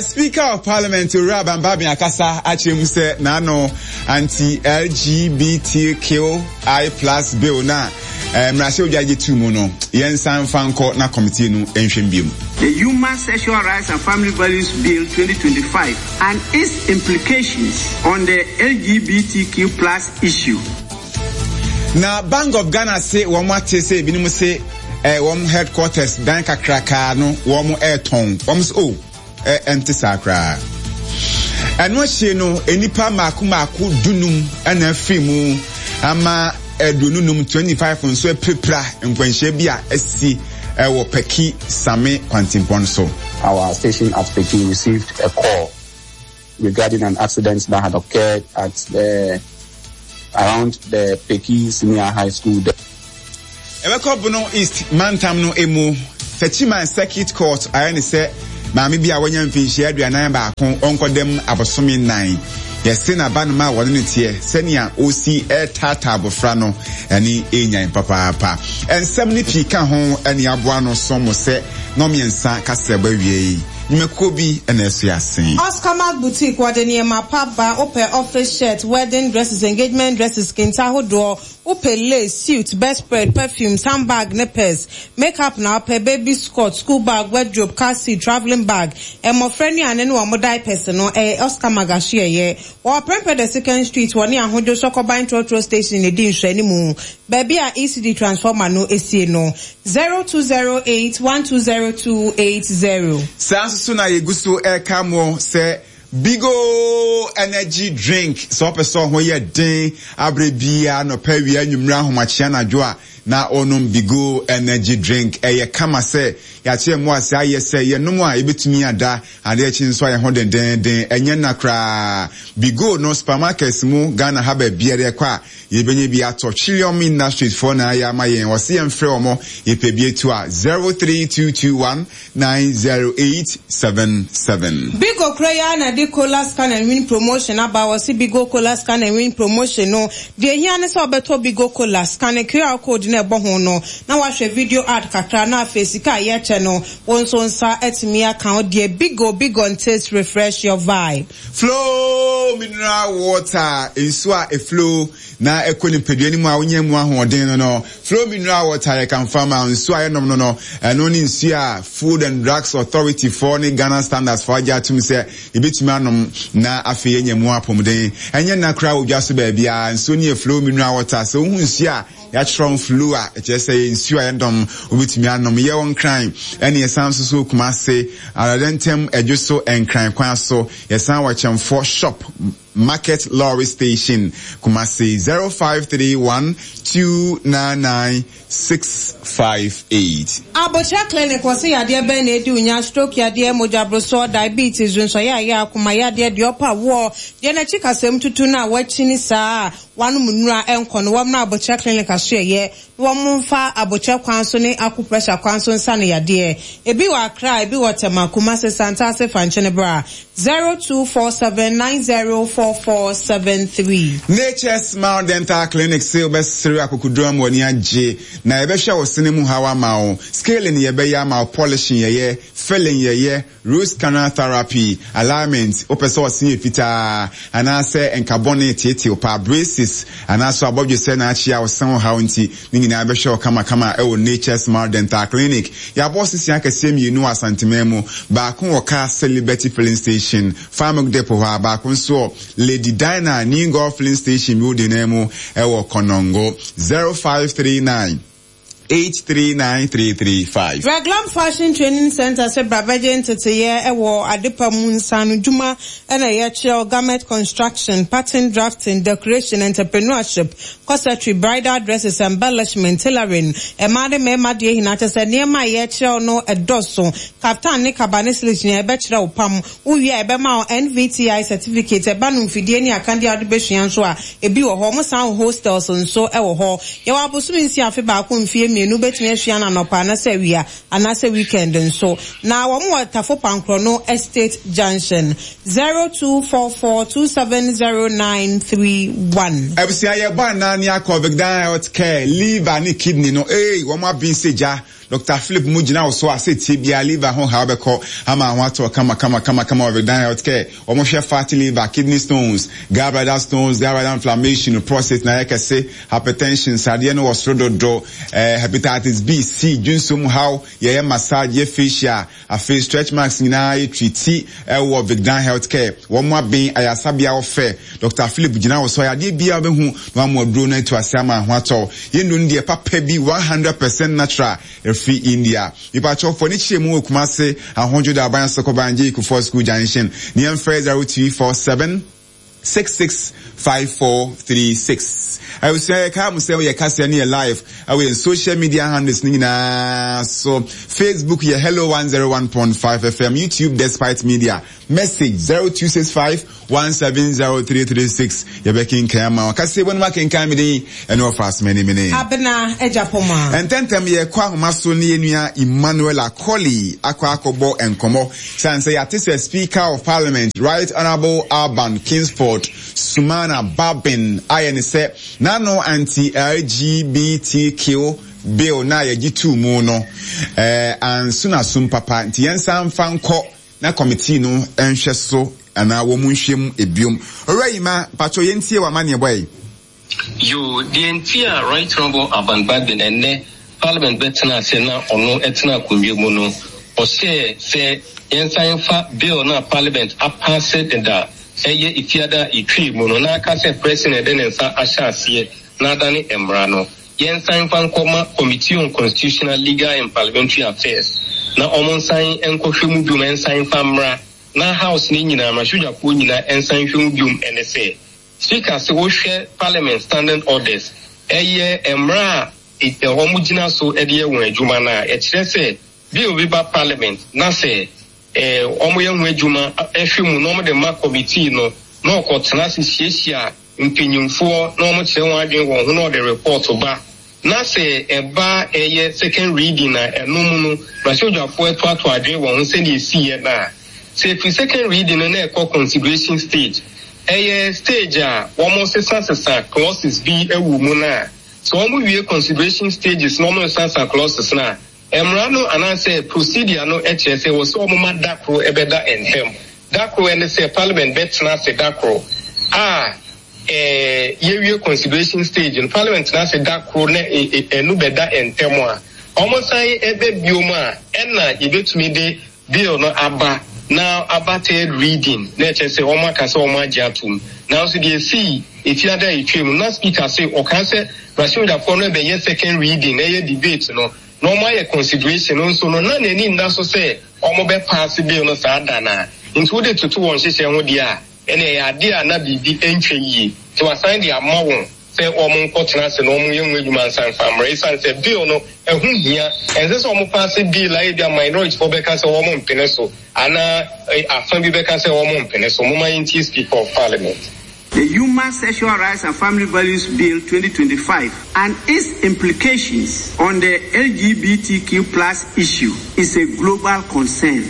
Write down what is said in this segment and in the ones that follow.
Speaker of Parliament Owura Alban Bagbin akasa akyerɛ mu sɛ n'ano anti-LGBTQI plus bill no a mmarahyɛbadwa gye too mu no, yɛnsan mfa nkɔ na committee no nhwɛ mu biom. The Human Sexual Rights and Family Values Bill 2025 and its implications on the LGBTQ plus issue. Na Bank of Ghana se wɔn ate sɛ ebinom se eh, wɔn headquarters dan kakrakaa no wɔn ɛretɔn. Wɔn se oh, eh, ɛnte saa koraa. Ɛno akyi no, nnipa mmaako mmaako dunum na afiri mu ama 25, 25 nso apirapira nkwanhyia bi a asi wɔ Peki Same kwantempɔn so. Our station at Peki received a call regarding an accident that had occurred at the around the Peki Senior High School. Ɛbɛkɔ Bono East mantam no mu, Techiman Circuit Court ayɛ no sɛ maame bi a wanya mfinhyia 41 ɔnkɔda mu abosome nnan. Yɛse n'abanoma a wɔne no teɛ sɛnea ɔsi retaataa abofra no ani renyan papaapa. Nsɛm no pii ka ho ne aboa ano som mo sɛ nnɔnmiɛnsa kaseɛbɔ awiei. Nnwumakuo bi na ɛsoɛ ase. Oscarmark Boutique wɔde nneɛma pa ba, wopɛ office shirt, wedding dresses, engagement dresses, kente ahodoɔ, Wopɛ lace, suit, bedspread, perfumes, handbag ne purse, makeup na wopɛ, baby skirt, school bag, wardrobe, car seat, travelling bag, mmɔfra nnuane ne wɔn diapers no, ɛyɛ Oscar Mag ahyeɛyɛ. Wɔwɔ Prempeh the Second Street wɔ ne Ahodwo Sɔkɔban Trɔtrɔ Station na ɛdi nhwɛanimu, baabi a ECD transformer no sie no. 0208 120280. Saa nso so na yɛgu so reka mo sɛ Bigo energy drink, sɛ wopɛ sɛ ɔho yɛ den aberɛ biara, anɔpa, awia, anwummerɛ, ahomakye, anadwo a, na wonom Bigo energy drink. Ɛyɛ kama sɛ yɛakyerɛ mmoa ase ayɛ sɛ yɛnom a yɛbɛtumi ada adeɛ akyi nso ayɛ ho dendeenden. Ɛnyɛ nna koraa. Bigo no supermarkets mu Ghana ha baabiara yɛkɔ a yɛbɛnya bi atɔ. Trillium Industries foɔ na ayɛ ama yɛn. Wɔse yɛmfrɛ wɔn yɛpɛ bi atu a 03221 90877. Bigo koro yi ara na ɛde Cola Scan and Win Promotion aba. Wɔse Bigo Cola Scan and Win Promotion no, deɛ ehia ne sɛ wobɛtɔ Bigo Cola, scanne QR code no a ɛbɔ ho no, na woahwɛ video ad kakra, na afei sika a yɛkyɛ no, wo nso wo nsa atumi aka wo deɛ. Bigo, Bigo and taste, refresh your vibe. Flow mineral water, nsuo a eflow na ɛkɔ nipadua no mu a wonya mu ahoɔden no no. Flow mineral water yɛ kamfo ama nsuo a yɛnom no no. Ɛno ne nsuo a Food and Drugs Authority foɔ ne Ghana Standards foɔ agye atom sɛ yɛbɛtumi anom na afei yɛanya mu apɔmuden. Ɛnyɛ nna koraa wɔ dwa so baabiara. Nsuo no yɛ Flow mineral water. Sɛ wohu nsuo a yɛatwerɛ ho Flow a, ɛkyerɛ sɛ ɛyɛ nsuo a yɛdɔm, wobɛtumi anom. Yɛwɔ Nkran ɛne yɛsan nso so Kumase, Aradɛntɛm, Adwoso, Nkran kwan so. Yɛsan wɔ Kyɛmfoɔ Shop. Market Lorry Station, Kumasi, 0531 299 658. Abokyerɛ Clinic wɔse yadeɛ bɛn na edi wo nya, stroke yadeɛ, mogya brosoɔ, diabetes, dwonsɔyareɛ, akoma yadeɛ, deɛ ɔpɛ awoɔ, deɛ n'akyi kasɛm tutu no a wakyini saa a wanom nnuru a ɛnkɔ no, wɔmmra Abokyerɛ Clinic asoɛeɛ na wɔmfa abokyerɛ kwan so ne acupressure kwan so nsa no yadeɛ. Ebi wɔ Accra, ebi wɔ Tema, Kumasi, Santase, Fankyene bra. 0247904473. Nature's Smile Dental Clinic se wobɛsere akokoduru ama w'ani agye, na yɛbɛhwɛ wo sene mu haw ama wo. Scaling yɛbɛyɛ ama wo, polishing yɛyɛ, filling yɛyɛ, Root canal therapy, alignment, wopɛ sɛ ɔse yɛ fitaa anaasɛ nka bɔne teetee paa, braces, anaasɛ abɔdwesɛ na akyea wo se ho haw nti, ne nyinaa bɛhwɛ wo kamakama wɔ Nature Smile Dental Clinic. Yɛabɔ sese akɛseɛ mmienu wɔ Asanteman mu, baako wɔ Kaase Liberty Filling Station, Farmilk Depot hɔ a, baako nso wɔ Lady Dinah New Golf Filling Station building no mu wɔ Konongo. 0539. 839335. Raglam Fashion Training Centre sɛ bra bɛgye nteteyɛ wɔ adepa mu nsaano dwuma na yɛkyerɛw garment construction, pattern drafting, decoration, entrepreneurship, corsetry, bridal dresses, embellishment, tailoring, mmaa ne mmarima deɛ nyinaa kyerɛ sɛ nneɛma a yɛkyerɛw no dɔso, kaftan ne kaba ne sleeves nyinaa yɛbɛkyerɛ wo pam, wowie a yɛbɛma wo NVTI certificate, ɛba no mfidie ne akadeɛ a wode bɛsua nso a ebi wɔ hɔ, wɔsan wɔ hostels nso wɔ hɔ. Yɛwɔ abosome nsia, afe baako, mfeɛ mmienu, wobɛtumi asua no anɔpa anasɛ awia anaasɛ weekend nso. Na wɔn wɔ Tafo Pankorɔno Estate Junction, 0244270931. Abusua yɛbɔ anaa ne akɔ Vicdan Health Care, liver ne kidney no eei wɔn aben sɛ gya. Doctor Philip mu gyina wo so a sɛ tie biara liver ho haw bɛkɔ ama ho atɔ kama kama kama kama wɔ Vedan Healthcare. Wɔn hwɛ fatty liver, kidney stones, gallbladder stones, gallbladder inflammation, prostate na ayɛ kɛse, hypertension, sradeɛ no wɔ soro dodo, eh, hepatitis B, C, dwonso mu haw, yɛyɛ massage, yɛ facial, afei stretch marks nyinaa yɛ treati ɛwɔ Vicdan Healthcare. Wɔn aben ayasabea wɔ fɛ. Doctor Philip gyina wo so a yadeɛ biara wobɛhu na wama aduro no atu ase ama ho atɔ. Yɛn nnuro no deɛ papa bi 100% natural ɛfiri India. Mepakyɛw fo ani kyerɛ mu wɔ Kumase, Ahodwo da Aban Sokoban J Kufuor School Junction. Ne yɛn frɛ 0347 665436. Abusua yɛ kaa mo sɛ yɛ kaseɛ no yɛ live ɛwɔ yɛn social media handles no nyinaa so. Facebook yɛ Hello 101.5 FM, YouTube Despite Media. Message 0265 170336 yɛbɛkenkan ama wo. Kaseɛ bɔ no mu akenkan me din ɛne ɔfa asomani mene. Abena Agyapong. Ntɛntɛm yɛkɔ ahoma so ne yɛn nua Emmanuel Akoli akɔ akɔbɔ nkɔmmɔ. Sane sɛ yɛate sɛ Speaker of Parliament Right Honourable Alban Kingsford Sumana Bagbin ayɛ ne sɛ n'ano anti-LGBTQ bill no a yɛgye too mu no eh, anso n'asom papa nti yɛnsan mfa nkɔ na committee no nhwɛ so anaa wɔn nhwɛ mu ebiom. Owura Yima, mpakyɛw yɛntie w'amanneɛbɔ yi. Yoo, deɛ nti a Right Honourable Alban Bagbin ɛnnɛ Parliament bɛtena ase na ɔno tena akonnwa mu no, ɔhyɛɛ sɛ yɛnsan mfa Bill no a Parliament apaase deda ɛyɛ Efiada a etwaa mu no na aka sɛ President de ne nsa ahyɛ aseɛ na adane mmara no. Yɛnsan mfa nkɔma Committee on Constitutional, Legal and Parliamentary Affairs na wɔn nsan nkɔhwɛ mu biom nsan mfa mmra na House no nyinaa, mmarahyɛbadwafoɔ nyinaa nsan nhwɛ mu biom ɛne sɛ, Speaker se wohwɛ Parliament Standing Orders, ɛyɛ mmara a wɔn gyina so de yɛ wɔn adwuma no a, ɛkyerɛ sɛ Bill bi ba Parliament na sɛ wɔyɛ ho adwuma hwɛ mu na wɔde ma Committee no na ɔkɔtena ase hyiahyia mpanyimfoɔ na wɔkyerɛ wɔn adwene wɔ ho na wɔde report ba na sɛ ɛba ɛyɛ second reading a ɛno mu no mmarahyɛbadwafoɔ toatoa adwene wɔ ho sɛdeɛ ɛsiiɛ no a, sɛ ɛfiri second reading no na ɛkɔ consideration stage, ɛyɛ stage a wɔsesasesa clauses bi wɔ mu no a, sɛ wɔwie consideration stages na wɔresasa clauses no a, Mmara no anaasɛ procedure no kyerɛ sɛ ɛwɔ sɛ wɔma da koro bɛda ntam. Da koro ɛne sɛ Parliament bɛtena ase da koro a yɛwie consideration stage no, Parliament tena ase da koro na ɛno bɛda ntam a, wɔsan bɛ biom a ɛna yɛbɛtumi de Bill no aba na aba third reading na ɛkyerɛ sɛ wɔn aka sɛ wɔn agye atom. Nanso deɛ ɛsii Efiada a ɛtwaam no, na Speaker se ɔkaa sɛ mmarahyɛbadwafoɔ no rebɛyɛ second reading, ɛyɛ debate no, na wɔn ayɛ consideration no nso no, na n'ani nna so sɛ wɔn bɛ paase bill no saa da no a. Nti wode toto wɔn nhyehyɛɛ ho deɛ a, ɛnneɛ ɛyɛ adeɛ a na biribi ntwa yie. Nti wasan de ama wɔn sɛ wɔn nkɔtena ase na wɔn nyɛ ho adwuma ansa mfa mmra. Esiane sɛ bill no ɛho hia, ɛnsɛ sɛ wɔn paase bill a ebia minority foɔ bɛka sɛ wɔn mpene so anaa afa bi bɛka sɛ wɔn mpene so. Momma yɛntie Speaker of Parliament. The Human Sexual Rights and Family Values Bill 2025 and its implications on the LGBTQ plus issue is a global concern.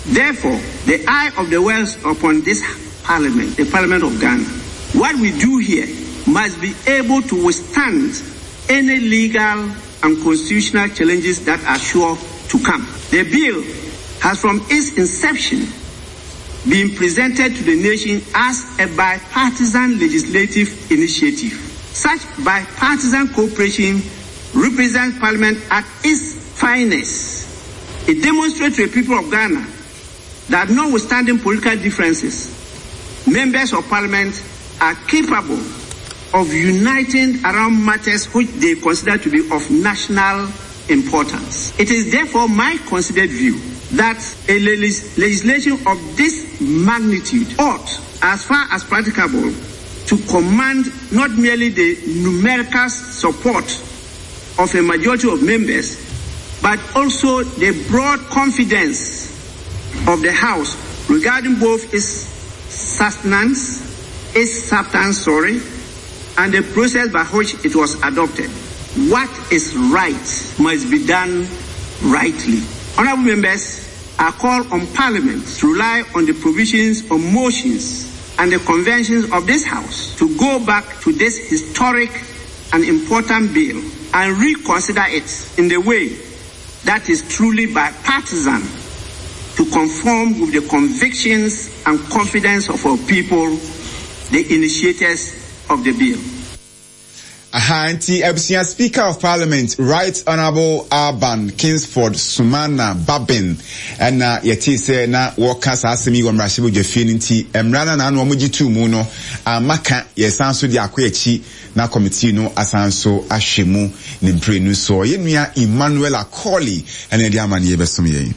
Therefore, the eye of the world upon this parliament, the Parliament of Ghana. What we do here must be able to withstand any legal and constitutional challenges that are sure to come. The bill has from its inception been presented to the nation as a bipartisan legislative initiative. Such bipartisan cooperation represents Parliament at its finest. It demonstrates to the people of Ghana that notwithstanding political differences, members of Parliament are capable of uniting around matters which they consider to be of national importance. It is therefore my considered view that a legislation of this magnitude ought, as far as practicable, to command not merely the numerical support of a majority of members, but also the broad confidence of the House regarding both its sustenance, its substance, sorry, and the process by which it was adopted. What is right must be done rightly. Honorable members, I call on Parliament to rely on the provisions of motions and the conventions of this House to go back to this historic and important bill and reconsider it in the way that is truly bipartisan to conform with the convictions and confidence of our people, the initiators of the bill. Aha nti abusua Speaker of Parliament Right Honourable Alban Kingsford Sumana Bagbin ɛna yɛtee sɛ na wɔka saa asɛm yi wɔ mmarahyɛbadwafie no nti mmara no a na ano wɔn gye too mu no amma ka yɛsan so de akɔ akyi na kɔmitii no asan nso ahwɛ mu ne mprenu soɔ. Yɛn nua Emmanuel Akoli ɛna ɛde amaneɛ bɛsom yɛn.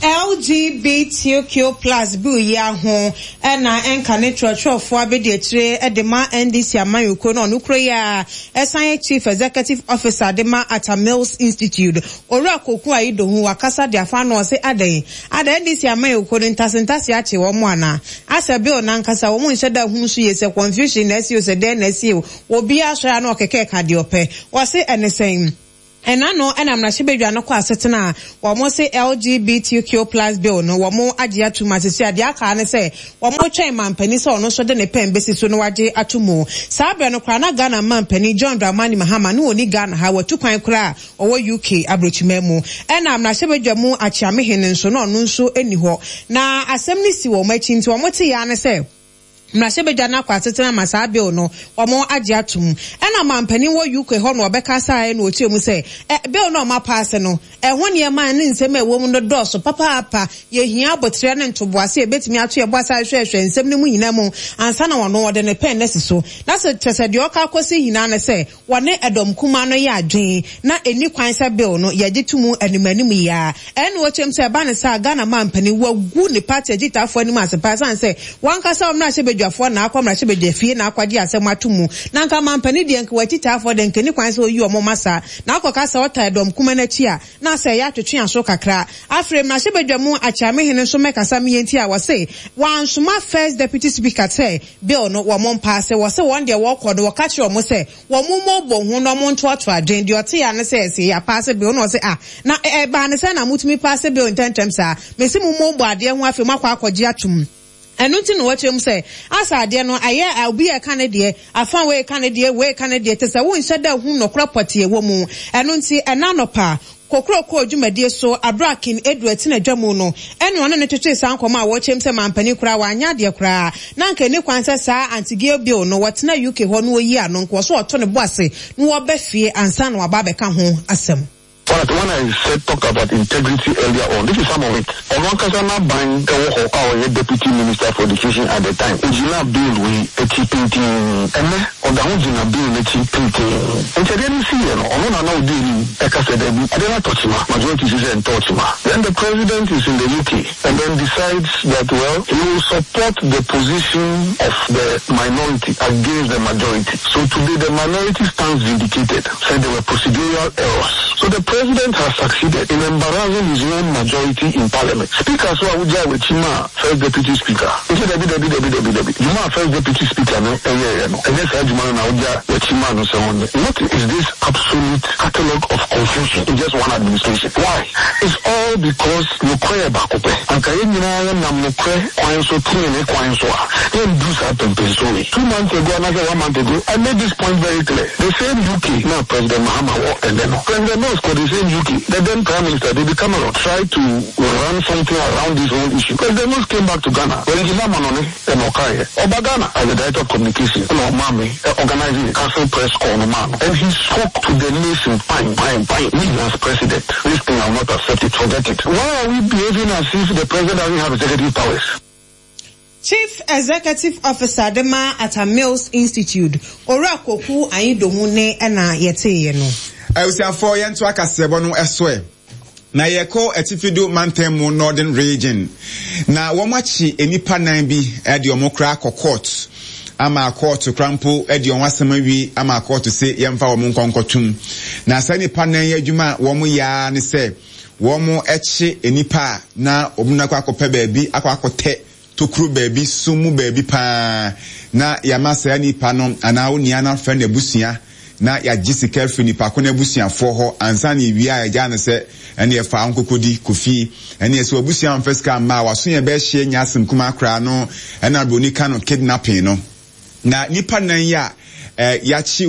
LGBTQ plus bill yi ara ho na ɛnka ne kyerɛkyerɛfoɔ abadiakyire de ma NDC amanyɔkuo no a ɔno kuro yi ara san yɛ Chief Executive Officer de ma Atta Mills Institute, Owura Koku Ayidohu wakasa de afa ano ɔse adɛn? Adɛn NDC amanyɔkuo no ntase ntase akye wɔn anaa? Asɛ bill no ankasa wɔn nhyɛ da nhunu so yie sɛ confusion na asi o sɛ dɛn na asi o, obiara sɔre a na ɔkeka ɛka deɛ ɔpɛ. Ɔse ɛne sɛn? Ɛna no na mmarahyɛbadwa no kɔ asetena a wɔn se LGBTQ plus bill no wɔn agye atum a sisi a deɛ aka ara ne sɛ wɔn retwɛn manpanin sɛ ɔno nso de ne pɛn bɛsi so na wagye ato mu. Saa berɛ no koraa na Ghana manpanin John Dramani Mahama ne ɔnni Ghana ha, watu kwan koraa a ɔwɔ UK abrokyiman mu. Ɛna mmarahyɛbadwa mu Akyeamehene nso na ɔno nso nni hɔ. Na asɛm no si wɔn akyi nti wɔn teeɛ ara ne sɛ, Mmarahyɛbadwa no akɔ asetena ama saa bill no wɔn agye atom. Ɛna manpanin wɔ UK hɔ na ɔbɛkasaeɛ na ɔkyerɛ mu sɛ ɛ bill no a wɔapaase no ɛho nneɛma ne nsɛm a ɛwɔ mu no dɔɔso papaapa. Yɛhia aboterɛ ne ntoboase a yɛbɛtumi ato yɛn bo ase ahwehwɛhwɛ nsɛm no mu nyinaa mu ansa na wɔn wɔde ne pɛn no asi so. Na sɛ kyerɛ sɛ deɛ ɔka akɔsi nyinaa ne sɛ Wɔne ɛdɔm kumaa no yɛ adwene na ɛnni kwan sɛ bill no yɛgye to mu anim anim yi ara. Ɛne ɔkyerɛm sɛ ɛba no saa a Ghana manpanin wagu ne party akyitaafoɔ anim ase paa ɛsiane sɛ wankasa ɔmmarahyɛbadwafoɔ na akɔ mmarahyɛbadwafie na akɔgye asɛm ato mu na anka manpanin deɛ nka w'akyitaafoɔ deɛ nka ɛnni kwan sɛ ɔyi wɔn ma saa na akɔka sɛ ɔtaa ɛdɔm kumaa no akyi a na asɛ ɛyɛ atwetwe aso kakra. Afei mmarahyɛbadwa mu Akyeamehene nso mmɛkasa meɛ nti a wɔse wansoma first deputy speaker sɛ Bill no wɔn mpaase, wɔse wɔn deɛ wɔkɔ no wɔka kyerɛ wɔn sɛ wɔn mmɔbɔ ho na wɔn ntoatoa adwene, deɛ ɔteɛ ara ne sɛ ɛse yɛapaase bill na ɔse ah na ɛbaa ne sɛn na motumi paase bill ntɛntɛm saa, mese mo mmɔbɔ adeɛ ho afei moakɔ akɔgye atom. Ɛno nti na wɔkyerɛ mu sɛ asa adeɛ no ayɛ a obi reka ne deɛ, afa wei reka ne deɛ, wei reka ne deɛ, te sɛ wonhyɛ da hu nɔkorɛ pɔtee wɔ mu. Ɛno nti ɛnnɛ anɔpa Kokrokoo dwumadie so aberɛ a King Edward tena dwa mu no ɛna ɔne no twetwee saa nkɔmmɔ a wɔkyɛm sɛ mampanin koraa wanyɛ adeɛ koraa na anka ɛnni kwan sɛ saa Anti-Gay Bill no wɔtena UK hɔ na wɔyi ano nka ɔso ɔto ne bo ase na wɔba fie ansa na waba abɛka ho asɛm. But when I said talked about integrity earlier on, this is some of it. Ɔno ankasa n'aban wɔ hɔ a ɔyɛ Deputy Minister for Education at the time, ogyinaa bill wei akyi pintinn. Ɛnnɛ, ɔda ho gyina bill no akyi pintinn. Nti adeɛ no siiɛ no, ɔno na na ɔdi anim ɛka sɛ daabi, adeɛ no atɔ kyima, majority se sɛ ɛntɔɔ kyima. Then the President is in the UK and then decides that well, he will support the position of the minority against the majority. So today the minority stands vindicated, said there were procedural errors. So the president has succeeded in embarrassing his own majority in parliament. Speaker so a wogyaa w'akyi maa first deputy speaker. Nti dabi dabi dabi dabi dabi. Dwuma a first deputy speaker no yɛeɛ no, ɛnyɛ saa dwuma no na wogya w'akyi maa no sɛ ɔnyɛ. What is this absolute catalogue of confusion in just one administration? Why? It's all because nokorɛ yɛ baako pɛ. Anka yɛn nyinaa yɛnam nokorɛ kwan so, tenenee kwan so a, yɛnduru saa pɛmpɛnsoɔ wei. Two months ago anaasɛ one month ago, I made this point very clear. The same UK na President Mahama wɔ ɛnnɛ no, President Mills kɔ the same UK. The then Prime Minister, David Cameron, tried to run something around this whole issue. President Mills came back to Ghana, wangyina amanɔne na ɔkaeɛ. Ɔba Ghana as the Director of Communication na ɔmaa me organise Council press call no maa no and he spoke to the nation fine, fine, fine. Me as President, this thing I will not accept it, forget it. Why are we behaving as if the President doesn't have executive powers? Chief Executive Officer de ma Atta Mills Institute, Owura Koku Anyidoho nne na yɛteeɛ no. Abusuafoɔ yɛnto akaseɛbɔ no so ɛ. Na yɛkɔ Atifido mantam mu Northern Region na wɔn akye nnipa nan bi de wɔn koraa akɔ court ama court koraa mpo de wɔn asɛm awie ama court se yɛmfa wɔn nkɔ nkɔtom. Na saa nnipa nan yi adwuma a wɔn yɛ ara ne sɛ wɔn kye nnipa a na wɔn akɔ akɔpɛ baabi akɔ akɔtɛ tokuro baabi, sum mu baabi paa, na yɛama saa nipa no anaa onua no afrɛ n'abusua na yɛagye sika afiri nipa ko no abusuafoɔ hɔ ansa na yɛwie a yɛgyaa no sɛ ɛneɛ fa wo nkɔkɔdi kɔ fie. Ɛneɛ sɛ w'abusua amfa sika amma a w'aso yɛ bɛhye nyɛ asɛm kumaa koraa no ɛna broni ka no kidnapping no. Na nipa nan yi a yɛakye.